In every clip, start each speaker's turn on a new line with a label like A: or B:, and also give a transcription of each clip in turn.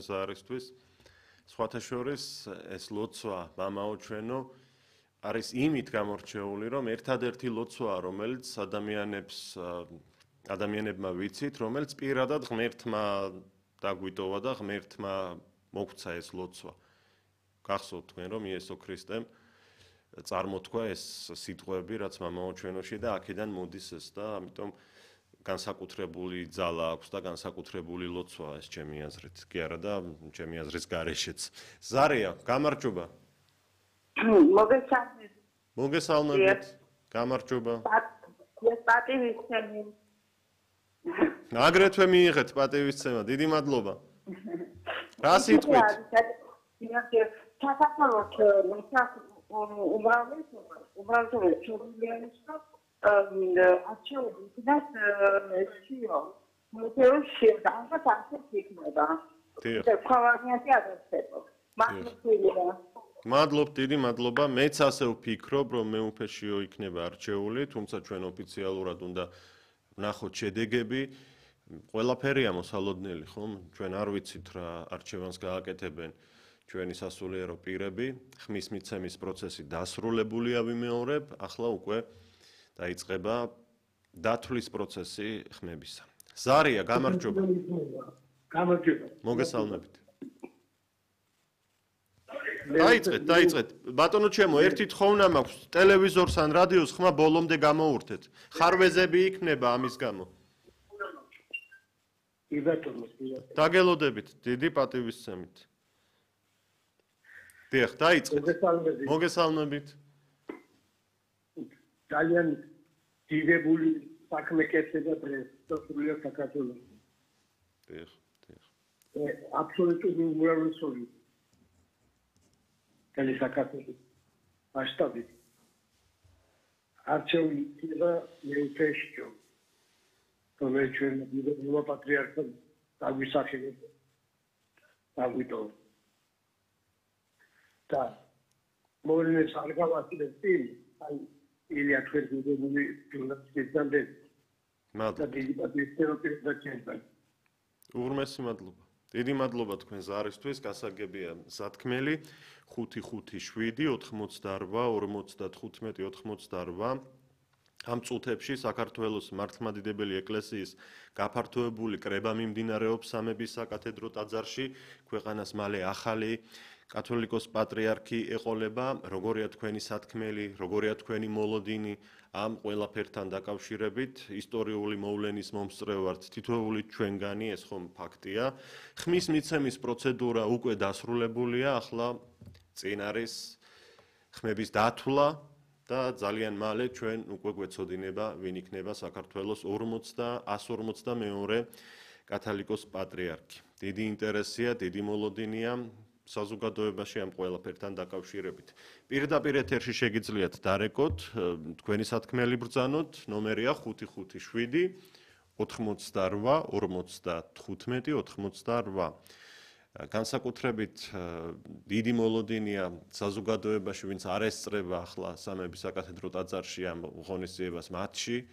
A: ზარისთვის. სხვათა შორის ეს ლოცვა მამაო ჩვენო არის იმით გამორჩეული, რომ ერთადერთი ლოცვაა, რომელიც ადამიანებმა ვიცით, რომელიც პირადად ღმერთმა დაგვიტოვა და ღმერთმა მოგვცა ეს ლოცვა. გახსოვთ თქვენ, რომ იესო ქრისტემ წარმოთქვა ეს სიტყვები, რაც მამაო ჩვენოში და აქედან მოდის ეს და ამიტომ განსაკუთრებული ძალა აქვს და განსაკუთრებული ლოცვა ეს ჩემი აზრით. კი არა და ჩემი აზრის გარეშეც. ზარია, გამარჯობა. მოგესალმებით. გამარჯობა.
B: პატივისცემა.
A: აგრეთვე მიიღეთ პატივისცემა. დიდი მადლობა. რა სიტყვით?
B: საქართველოს
A: მადლობ, დიდი მადლობა. მეც ასე ვფიქრობ, რომ მეუფეშიო იქნება არჩეული, თუმცა ჩვენ ოფიციალურად უნდა ვნახოთ შედეგები. ყველაფერია მოსალოდნელი, ხომ? ჩვენ არ ვიცით რა არჩევანს გააკეთებენ ჩვენი სასულიერო პირები. ხმის მიცემის პროცესი დასრულებულია ვიმეორებ, ახლა უკვე დაიწყება დათვლის პროცესი ხმებისა. ზარია, გამარჯობა.
C: გამარჯობა.
A: მოგესალმებით. დაიწყეთ. ბატონო ჩემო, ერთი თხოვნა მაქვს, ტელევიზორს ან რადიოს ხმა ბოლომდე გამოურთეთ. ხარვეზები იქნება ამის გამო. დაგელოდებით, დიდი პატივისცემით. დიახ, დაიწყეთ. მოგესალმებით.
C: ძალიან დიდებული საქმე კეთდება დღეს სრულიად საქართველოში.
A: დიახ.
C: აბსოლუტური უმრავლესობა კალი საქართველოს მასშტაბით. არჩეული იქნება მეუფეშიო. რომელიც ჩვენ დიდებულმა პატრიარქამ დაგვისახელებდა. დაგვიტოვა. და მოვლენებს არ გავაკეთებ წინ, აი ილია თქვენ დიდებული ჟურნალისტებთან და დიდი პატრიარქის პირდაპირ.
A: უღრმესი მადლობა. დიდი მადლობა თქვენ ზარისთვის, გასაგებია სათქმელი 557-88-45-88. ამ წუთებში საქართველოს მართლმადიდებელი ეკლესიის გაფართოებული კრება მიმდინარეობს სამების საკათედრო ტაძარში, ქვეყანას მალე ახალი კათოლიკოს პატრიარქი ეყოლება, როგორია თქვენი სათქმელი, როგორია თქვენი მოლოდინი ამ ყველაფერთან დაკავშირებით, ისტორიული მოვლენის მომსწრე ვართ, თითოეული ჩვენგანი, ეს ხომ ფაქტია. ხმის მიცემის პროცედურა უკვე დასრულებულია, ახლა წინ არის ხმების დათვლა და ძალიან მალე ჩვენ უკვე გვეცოდინება, ვინ იქნება საქართველოს 152 კათოლიკოს პატრიარქი. დიდი ინტერესია, დიდი მოლოდინია საზოგადოებაში ამ ყველაფერთან დაკავშირებით. პირდაპირ ეთერში შეგიძლიათ დარეკოთ, თქვენი სათქმელი ბრძანოთ, ნომერია 557 88 55 88. განსაკუთრებით დიდი მოლოდინია საზოგადოებაში, ვინც არ ესწრება ახლა სამების საკათედრო ტაძარში ამ ღონისძიებას მათში.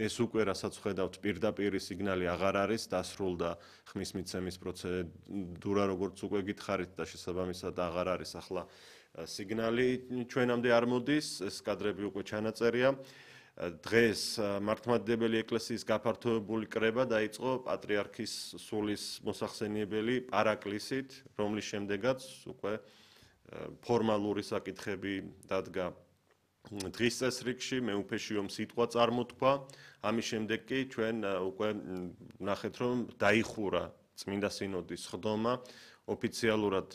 A: ეს უკვე რასაც ხედავთ პირდაპირი სიგნალი აღარ არის, დასრულდა ხმის მიცემის პროცედურა, როგორც უკვე გითხარით და შესაბამისად აღარ არის ახლა სიგნალი ჩვენამდე არ მოდის, ეს კადრები უკვე ჩანაწერია. დღეს მართლმადიდებელი ეკლესიის გაფართოებული კრება დაიწყო პატრიარქის სულის მოსახსენიებელი პარაკლისით, რომლის შემდეგაც უკვე ფორმალური საკითხები დადგა დღის წესრიგში, მეუფეშიომ სიტყვა წარმოთქვა. ამის შემდეგ კი ჩვენ უკვე ვნახეთ, რომ დაიხურა წმინდა სინოდის ხდომა. ოფიციალურად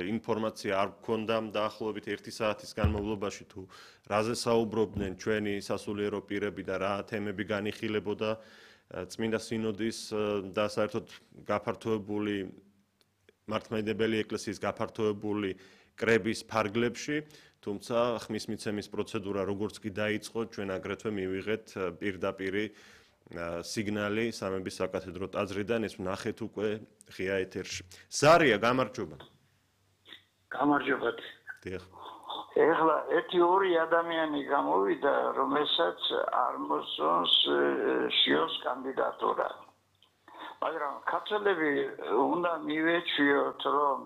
A: ინფორმაცია არ გქონდა დაახლოებით 1 საათის განმავლობაში თუ რაზე საუბრობდნენ ჩვენი სასულიერო პირები და რა თემები განიხილებოდა წმინდა სინოდის და საერთოდ გაფართოებული მართლმადიდებელი ეკლესიის გაფართოებული კრების ფარგლებში, თუმცა ხმის მიცემის პროცედურა როგორც კი დაიწყო, ჩვენ აგრეთვე მივიღეთ პირდაპირი სიგნალი სამების საკათედრო ტაძრიდან, ეს ვნახეთ უკვე ღია ეთერში. ზარია, გამარჯობა.
D: გამარჯობათ.
A: დიახ.
D: ეხლა 1-2 ადამიანი გამოვიდა, რომელსაც არ მოსწონს შიოს კანდიდატურა. მაგრამ ქართველები უნდა მივეჩვიოთ, რომ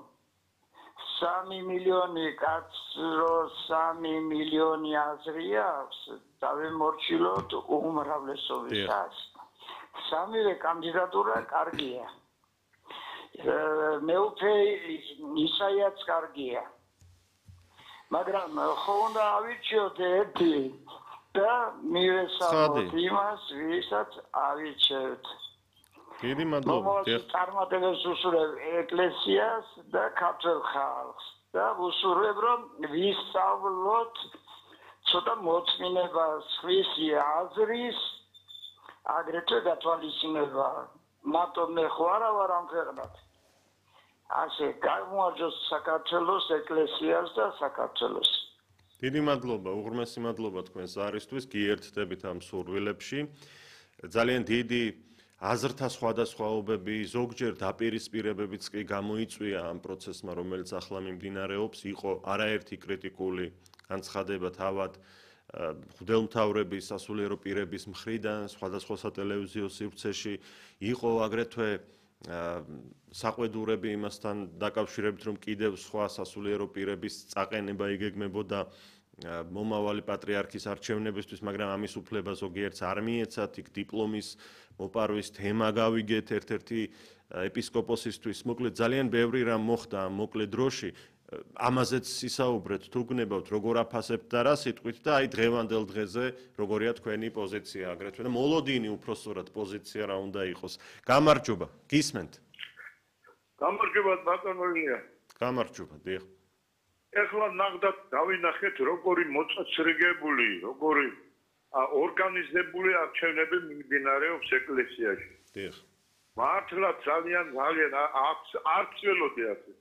D: 3 მილიონი კაცს რო 3 მილიონი აზრი აქვს, დავემორჩილოთ უმრავლესობისას. სამივე კანდიდატურა კარგია. მეუფე ისაიაც კარგია. მაგრამ ხო უნდა ავირჩიოთ ერთი და მივესალმოთ იმას, ვისაც ავირჩევთ.
A: დიდი მადლობა.
D: წარმატებებს უსურვებ ეკლესიას და ქართველ ხალხს და უსურვებ, რომ ვისწავლოთ ცოტა მოწმინებას, სხვისი აზრის, აგრეთვე გათვალისწინება. მარტო მე ხო არა ვარ ამ ქვეყნად. ასე გამოარჯოს საქართველოს ეკლესიას და საქართველოს.
A: დიდი მადლობა, უღრმესი მადლობა თქვენს არისთვის, გიერთდებით ამ სურვილებში. ძალიან დიდი აზრთა სხვადასხვაობები, ზოგჯერ დაპირისპირებებიც კი გამოიწვია ამ პროცესმა, რომელიც ახლა მიმდინარეობს, იყო არაერთი კრიტიკული განცხადება თავად მღვდელმთავრების, სასულიერო პირების მხრიდან, სხვადასხვა სატელევიზიო სივრცეში, იყო აგრეთვე საყვედურები იმასთან დაკავშირებით, რომ კიდევ სხვა სასულიერო პირების წაყენება იგეგმებოდა მომავალი პატრიარქის არჩევნებისთვის, მაგრამ ამის უფლება ზოგიერთს არ მიეცათ, იქ დიპლომის მოპარვის თემა გავიგეთ ერთ-ერთი ეპისკოპოსისთვის. მოკლედ ძალიან ბევრი რამ მოხდა ამ მოკლე დროში. ამაზეც ისაუბრეთ, თუ გნებავთ, როგორ აფასებთ და რა სიტყვით და აი დღევანდელ დღეზე როგორია თქვენი პოზიცია აგრეთვე და მოლოდინი უпроსტად პოზიცია რა უნდა იყოს. გამარჯობა, გისმენთ.
B: გამარჯობა ბატონო ილია.
A: გამარჯობა, დიახ.
B: ეხლა ნახდათ დავინახეთ როგორი მოწესრიგებული, როგორი ორგანიზებული არჩევნები მიმდინარეობს ეკლესიაში.
A: დიახ.
B: მართლა ძალიან არც ველოდი ასე.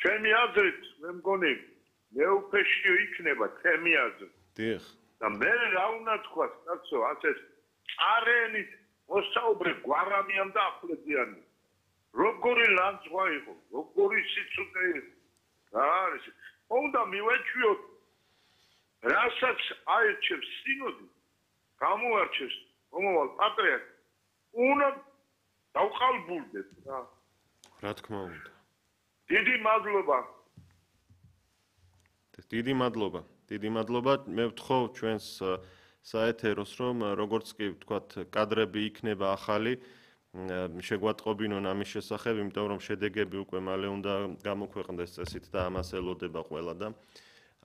B: ჩემი აზრით, მე მგონი მეუფეშიო იქნება ჩემი აზრით.
A: დიახ.
B: და მე რა უნდა თქვა, კაცო, ასე არენით მოსაუბრე გვარამიან და აფლედიანი. როგორი ლანძღვა იყო, როგორი სიცოცხლე იყო. რა არის? უნდა მივეჩვიოთ, რასაც აერჩევს სინოდი, გამოარჩევს მომავალ პატრიარქს, უნდა დავყალბულდეთ რა.
A: რა თქმა უნდა.
B: დიდი მადლობა.
A: დიდი მადლობა. დიდი მადლობა. მე ვთხოვ ჩვენს საეთეროს, რომ როგორც კი ვთქვათ, კადრები იქნება ახალი, შეგვატყობინონ ამის შესახებ, იმიტომ რომ შედეგები უკვე მალე უნდა გამოქვეყნდეს წესით და ამას ელოდება ყველა და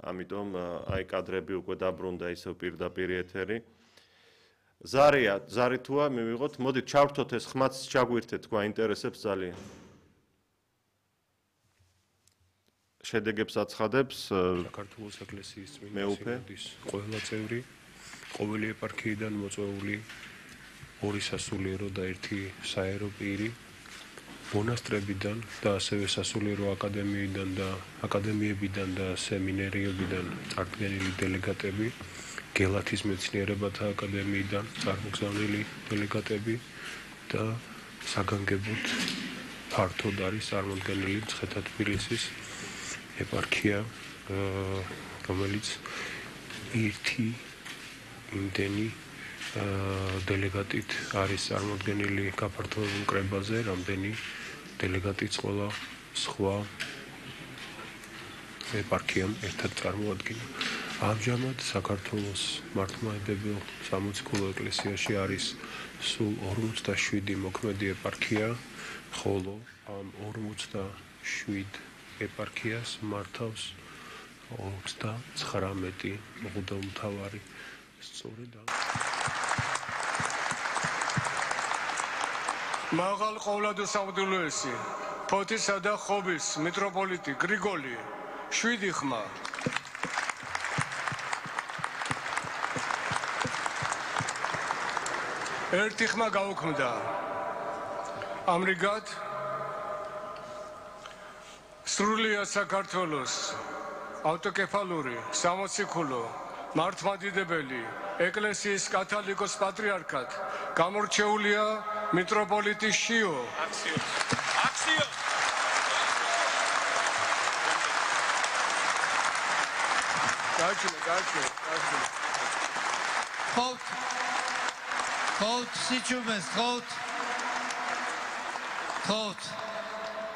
A: ამიტომ აი კადრები უკვე დაბრუნდა ისევ პირდაპირ ეთერი. ზარი თუა მივიღოთ, მოდით ჩავრთოთ ეს ხმაც ჩაგვირთეთ, გვაინტერესებს ძალიან. შედეგებს აცხადებს
E: საქართველოს ეკლესიის წმინდა სინოდის ყველა წევრი, ყოველი ეპარქიიდან მოწვეული 2 სასულიერო და 1 საერო პირი, მონასტრებიდან და ასევე სასულიერო აკადემიიდან და აკადემიებიდან და სემინერიებიდან წარდგენილი დელეგატები, გელათის მეცნიერებათა აკადემიიდან წარმოგზავნილი დელეგატები და საგანგებოდ ფართოდ არის წარმოდგენილი მცხეთა-თბილისის ეპარქია, რომელიც ერთი იმდენი დელეგატით არის წარმოდგენილი გაფართოებულ კრებაზე, რამდენი დელეგატიც ყველა სხვა ეპარქიამ ერთად წარმოადგინა. ამჟამად საქართველოს მართლმადიდებელ სამოციქულო ეკლესიაში არის სულ 47 მოქმედი ეპარქია, ხოლო ამ 47 ეპარქიას მართავს 39 მღვდელმთავარი. სწორედ
F: მაღალ ყოვლადოსავდულოესი, ფოთისა და ხობის მიტროპოლიტი გრიგოლი, 7 ხმა. ერთი ხმა გაუქმდა. ამრიგად სრულიად საქართველოს ავტოკეფალური სამოციქულო მართლმადიდებელი ეკლესიის კათოლიკოს პატრიარქად გამორჩეულია მიტროპოლიტი შიო. აქციო. გაჩვენე.
G: ხოთ სიჩუმეს, ხოთ. გთხოვთ